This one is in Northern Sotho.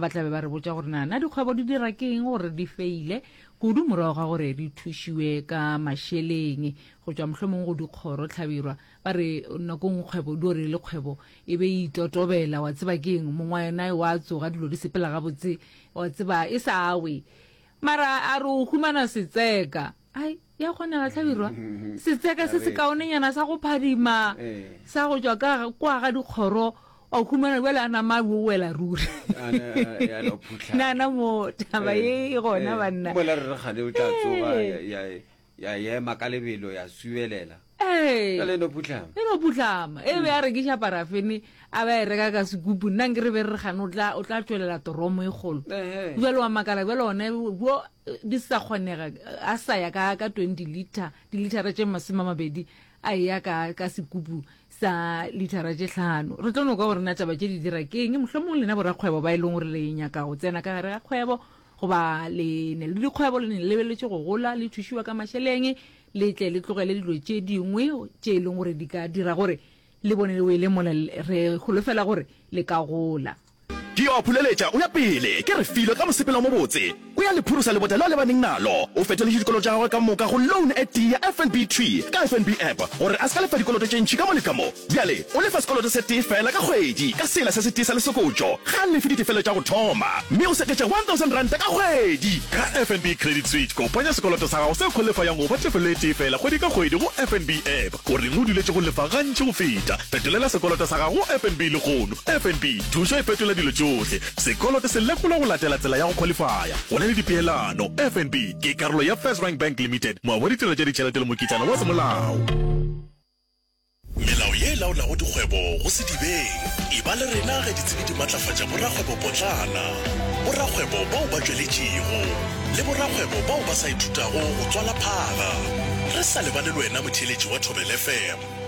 ba tla be ba re botša gore na na dikgwebo di dira ke eng gore di feile kudu morago ga gore di thušiwe ka mašeleng go tšwa mohlomong go dikgoro hlabirwa ba re nako nngwe kgwebo di ore le kgwebo e be e itotobela wa tseba ke eng mongwe wa yona wa tsoga dilo di sepela gabotse wa tseba e sa we mara a re o humana setseka ai ya kgonega hlabirwa setseka se se kaonenyana sa go phadima eh. sa go tšwa ka kwa ga dikgoro wa humana bjale a nama a wela ruri nana mo taba ye e gona banna mola re re gane o tla tsoga ya ema ka lebelo ya subelela ee e no phutlhama e no phutlhama e be a rekiša parafene a ba e reka ka sekupu nna nke re be re gane o tla o tla tšwelela toromo e kgolo jalo wa makala bjale one bo di sa kgonega a sa ya ka ka 20 liter dilitara tše 20 a eya ka ka sekupu sa litara tše hlano re tlo no kwa gore na taba tše di dira ke eng mohlomong lena borakgwebo ba e leng gore le nyaka go tsena ka gare ga kgwebo goba le ne le dikgwebo le ne le lebeletše go gola le thušiwa ka mašeleng le tle le tlogele dilo tše dingwe tše e leng gore di ka dira gore le bone le wele mola re holofela gore le ka gola. Ke yo a phuleletša o ya pele, ke Refilwe ka mosepelo o mobotse. O ya le phurusa lebota leo a lebaneng nalo. O fetoletše dikoloto tša gagwe ka moka go loan e tee ya FNB thwi ka FNB app gore a se ka lefa dikoloto tše ntši ka mo le ka mo. Bjale o lefa sekoloto se tee feela ka kgwedi ka sela se setee sa lesokotšo. Ga a lefe ditefelo tša go thoma mme o seketša R1000 ka kgwedi. Ka FNB Credit Switch, kopanya sekoloto sa gago se khwalifayang go ba tefelo e tee feela kgwedi ka kgwedi go FNB app. O reng o duletše go lefa gantši go feta? Fetolela sekoloto sa gago go FNB lehono. FNB, thušo e fetola dilo tšohle. Sekoloto se lekolwa go latela tsela ya go khwalifaya. Go na le dipeelano. FNB ke karolo ya FirstRand Bank Limited, moabi wa ditirelo tša ditšhelete le mokitlana wa semolao. Melao ye e laolago dikgwebo go Sedibeng. Eba le rena ge ditsebi di matlafatša borakgwebopotlana, borakgwebo bao ba tšweletšego, le borakgwebo bao ba sa ithutago go tswala phaga. Re sa lebale le wena motheeletši wa Thobela FM.